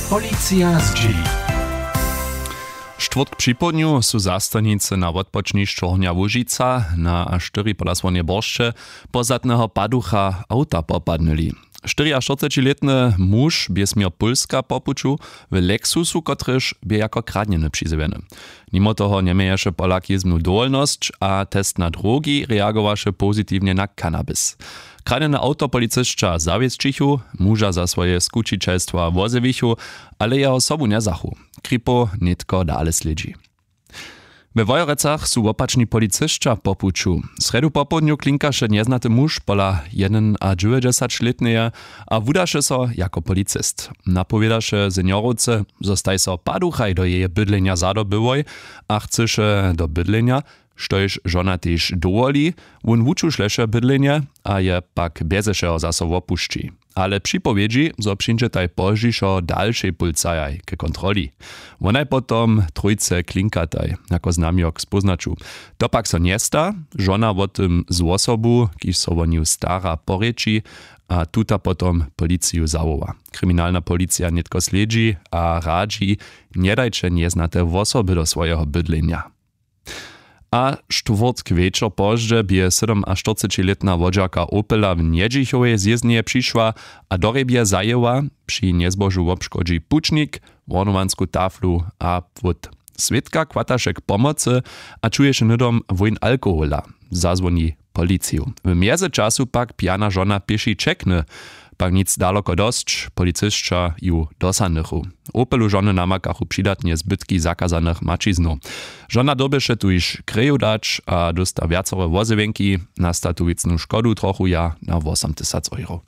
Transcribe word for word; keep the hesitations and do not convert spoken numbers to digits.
Policija zdźěli. Štwórtk připołdnju su zastajnicy na wotpočnišću Hornja Łužica na štyri pola słonje boršće pozdatneho paducha awta popadnyli. Štyriaštyrcećilětny muž bě směr pólska po puću w lexusu, kotryž bě jako kradnjeny přizjewjeny. Nimo toho njeměješe polak jězbnu dowolnosć a test na drogi, reagowaše pozitiwnje na cannabis. Kradnjene awto policisća zawěsćichu, muža za swoje skućićelstwa wozjewichu, ale jeho sobu njezachu. Kripow nětko dale slědźi. We Wojerecach su wopačni policisća po puću. Srjedu popołdnju klinkaše njeznaty muž pola jedynadźewjećdźesaćlětneje a wudaše so jako policist. Napowědaše seniorowce, zo staj so paduchaj do jeje bydlenja zadobyłoj a chcyše do bydlenja, štož žona tež dowoli. Wón wučušleše bydlenje a je pak bjeze wšeho zaso wopušći. Ale připowědźi, zo přińdźetaj pozdźišo dalšej pulcajaj ke kontroli. Wonaj potom trójce klinkataj, jako znamjok spóznaću. To pak so njesta, žona wo tym z wosobu, kiž so wo nju stara, porěči a tuta potom policiju zawoła. Kriminalna policija nětko slědźi a radźi: Njedajće njeznate wosoby do swojeho bydlenja. A štwórtk wječor pozdźe bě sydomaštyrcećilětna wodźerka Opela w Njedźichowej zjězneje přišła a do hrjebje zajěła. Při njezbožu wobškodźi pućnik, wornowansku taflu a płót. Swědka chwataše k pomocy a čuješe hnydom wójn alkohola. Zazwoni policiju. W mjezyčasu pak pjana žona pěši ćekny, pak nic daloko dosć, policisća ju dosahnychu. Opelu žony namakachu přidatnje zbytki zakazanych maćiznow. Žona dyrbješe tuž kreju dać a dósta wjacore wozjewjenki. Nastatu wěcnu škodu trochu ja na wosom tysac euro.